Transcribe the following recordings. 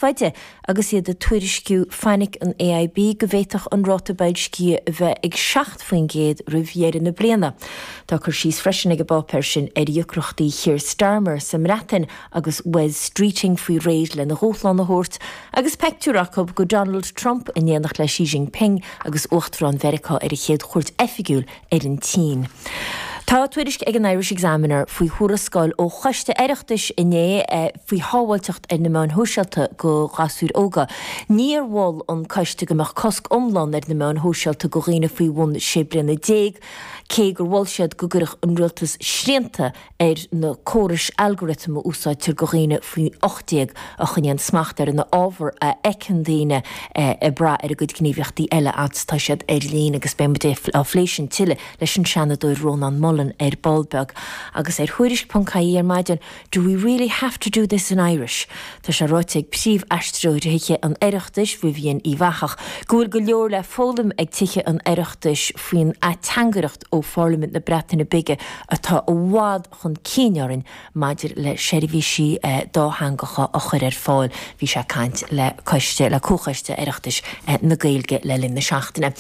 Faide agus iad ag tuairisciú fainic an AIB go bhféadfadh an ráta boilscithe a bheith ag 7% roimh dheireadh na bliana. Tá cur síos freisin ag an bpáipéar sin ar dheacrachtaí Keir Starmer sa mBreatain agus Wes Streeting faoi réir lena dhúshlán a thabhairt agus peictiúr acu de Donald Trump in éineacht le Xi Jinping agus Uachtarán Mheiriceá ar a chéad chuairt oifigiúil ar an tSín. Tá tuairisc ag an Irish Examiner faoi thuarascáil ó choiste Oireachtais inné faoi shábháilteacht ar na meáin shóisialta go ghasúir óga. Níor mhol an coiste go mbeadh cosc iomlán ar na meáin shóisialta go dhaoine faoi bhun 16 bliana, cé gur mhol siad go gcuirfeadh an rialtas srianta ar na córais algorithm a úsáidtear go dhaoine faoi 18 a choinníonn smacht ar an ábhar a fheiceann daoine ag brath ar a gcuid gníomhaíochtaí eile fhad is atá siad ar líne agus beidh muid á phlé sin tuilleadh leis an Seanadóir Rónán Mullen ar ball beag. Agus ar Thuairisc.ie ar maidin, Do we really have to do this in Irish? Tá sé ráite ag príomh-aistritheoir Thithe an Oireachtais, Vivian Uíbh Eachach, go bhfuil go leor le foghlaim ag Tithe an Oireachtais faoin ateangaireacht ó Pharlaimint na Breataine Bige atá i bhfad chun cinn orainn maidir le seirbhísí dátheangacha a chur ar fáil. Bhí sé ag caint le coiste, le Comhchoiste Oireachtais na Gaeilge le linn na seachtaine.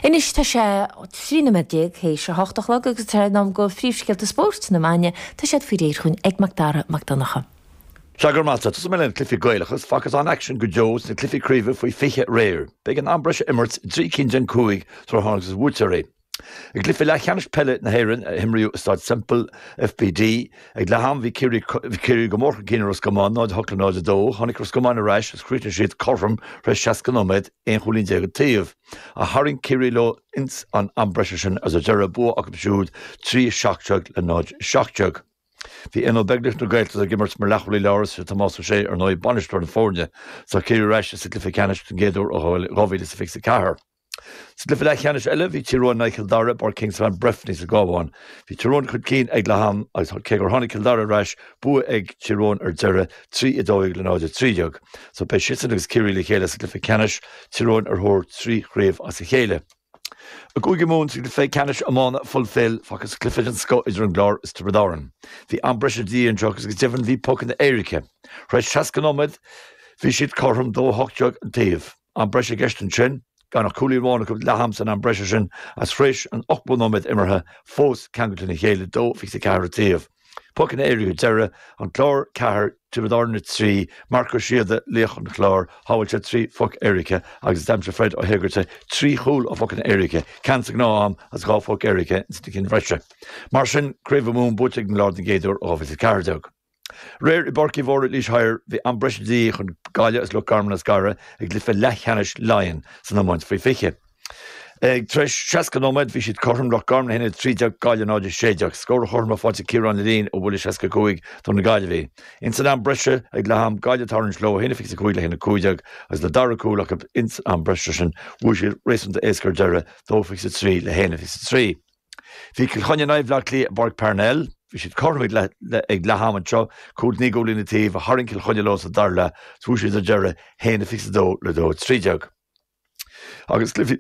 Anois tá sé 13 nóiméad théis a hocht a chlog agus tá sé in am go phríomhscéalta spóirt na maidine. Tá siad faoi réir chugainn ag Mac Dara Mac Donncha. Sea, go raibh maith agat. Tosóidh mé le na cluichí Gaelacha. Facthas an-aicsean go deo sna cluichí craoibhe faoi 20 aréir. B'éigean am breise a imirt i dtrí cinn den chúig sula thángthas ar bhuaiteoirí. I gcluiche leathcheannais peile na hÉireann a himríodh i Staid Semple FBD ag leath am bhí Ciarraí go mór chun cinn ar Ros Comáin, 0-8 le 0-2. Tháinig Ros Comáin ar ais agus chríochnaigh siad cothrom tar éis 60 nóiméad, 11 chúilín an taobh. Ach tharraing Ciarraí leo ins an am breise sin agus ar deireadh bua acu siúd 3-17 le 0-17. Bhí Éanna Ó Beaglaoich na Gaeltachta ag imirt mar leathchúlaí láir is é Tomás Ó Sé ar ndóigh bainisteoir na foirne. Tá Ciarraí ar ais sa gcluiche ceannais don gcéad uair ó 2024. Sa gcluiche leathcheannais eile, bhí Tír Eoghain in aghaidh Chill Dara i bPáirc Kingspan Breffni sa gCabhán. Bhí Tír Eoghain chun cinn ag leath am agus cé gur tháinig Cill Dara ar ais, bua ag Tír Eoghain ar deireadh, 3-12 le 0-13. So beidh siadsan agus Ciarraí le chéile sa gcluiche ceannais, Tír Eoghain ar thóir 3 chraobh as a chéile. I gCúige Mumhan sa gcluiche ceannais iomána Fulfil, facthas cluiche den scoth idir an gClár is Tiobraid Árann. Bhí am breise de dhíth anseo agus go deimhin bhí pocanna éirice. Tar éis 60 nóiméad bhí siad cothrom, 2-18 an taobh. Am breise i gceist ansin, gan ach cúilín amháin acu leath am san am breise sin agus tar éis an 80 nóiméad imeartha fós ceangailte lena chéile, 2-24 an taobh. Pocanna éirice ar deireadh, An Clár 4, Tiobraid Árann 3, Marc Ó Síoda, laoch an Chláir, shábháil sé 3 phoc éirice agus d'aimsigh Fred Ó hÉigeartaigh 3 chúl ó phocanna éirice, ceann sa ghnáth-am agus 2 phoc éirice ins na cinn bhreise. Mar sin, Craobh Mumhan buaite ag an gClár den gcéad uair ó 2014. Aréir i bPáirc Uí Mhórdha i Laois Thoir, bhí am breise de dhíth chun Gaillimh agus Loch Garman a scaradh i gcluiche leathcheannais Laighean san iomáint faoi 20. Ag tar éis 60 nóiméad bhí siad cothrom, Loch Garman 1-13, Gaillimh 0-16. Scór chothrom faighte ag Ciarán Alleyne ó bhuille 65 do na Gaillimhigh. Ins an am breise ag leath am, Gaillimh ag tarraingt leo 1-25 le 1-15 agus le dara cúl acu ins an am breise sin bhuaigh siad réasúnta éasca ar deireadh, 2-23 le 1-23. Bhí Cill Chainnigh in aghaidh Bhaile Átha Cliath i bPáirc Parnell. Bhí siad cothrom ag leath am anseo, cúl naoi gcúilín an taobh ach tharraing Cill Chainnigh leo sa dara leath is bhuaigh siad ar deireadh, 1-22 le 2-13. Agus cluichí,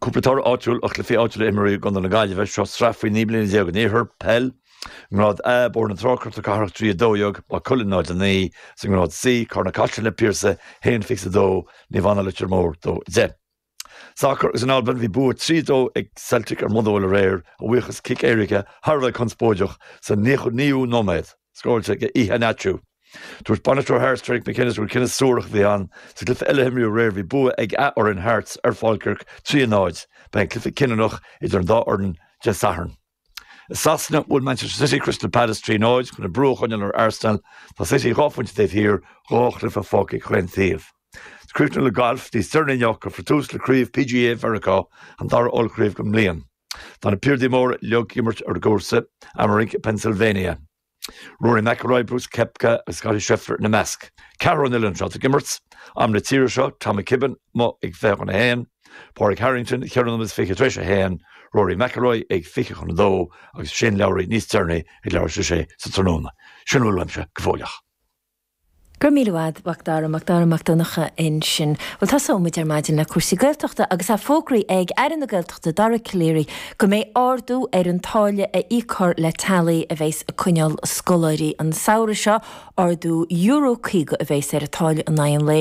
cúpla toradh áitiúil ó chluichí áitiúla a imríodh i gContae na Gaillimhe, seo sraith faoi 19 mbliana an Iarthair, peil, i ngrád A, Bóthar na Trá, Crot na Cathrach 3-12, Maigh Cuilinn 0-9, is i ngrád C, Carna Caiseal Na Piarsaigh 1-22, Naomh Anna Leitir Móir 2-10. Sacar agus in Albain bhí bua 3-2 ag Celtic ar Motherwell aréir, a bhuíochas cic éirice thar a bheith conspóideach sa 99ú nóiméad, scóráilte ag Iheanacho. Dúirt bainisteoir Hearts Derek McInnes gur cinneadh suarach a bhí ann. Sa gcluiche eile a himríodh aréir bhí bua ag a fhoireann Hearts ar Falkirk 3-0. Beidh an cluiche cinniúnach idir an dá fhoireann Dé Sathairn. I Sasana, bhuail Manchester City Crystal Palace 3-0 chun an brú a choinneáil ar Arsenal. Tá City dhá phointe taobh thiar, dhá chluiche fágtha ag chaon taobh. Críochnú le galf, níos deireanaí inniu, cuirfear tús le Craobh PGA Mheiriceá, an dara ollchraobh den mbliain. Tá na piardaí móra uilig ag imirt ar an gcúrsa, Amerink i Pennsylvania. Rory McIlroy, Brooks Koepka agus Scottie Scheffler ina measc. Ceathrar ón oileán seo ag imirt. Am na tíre seo, Tom McKibbin amuigh ag 20 chun a haon, Pádraig Harrington cheithre nóiméad is fiche tar éis a haon, Rory McIlroy ag 20 chun a dó agus Shane Lowry níos deireanaí ag leathuair tar éis a sé sa tráthnóna. Sin a bhfuil uaimse go fóilleach. Go raibh míle maith agat, Macdara, Macdara Mac Donncha ansin. Bhuel, tosóidh muid ar maidin le cúrsaí Gaeltachta agus é fógraithe ag Aire na Gaeltachta Dara Calleary go mbeidh ardú ar an táille a íocfar le teaghlaigh a bheas ag coinneáil scoláirí an samhradh seo. Ardú €50 a bheas ar an táille in aghaidh an lae.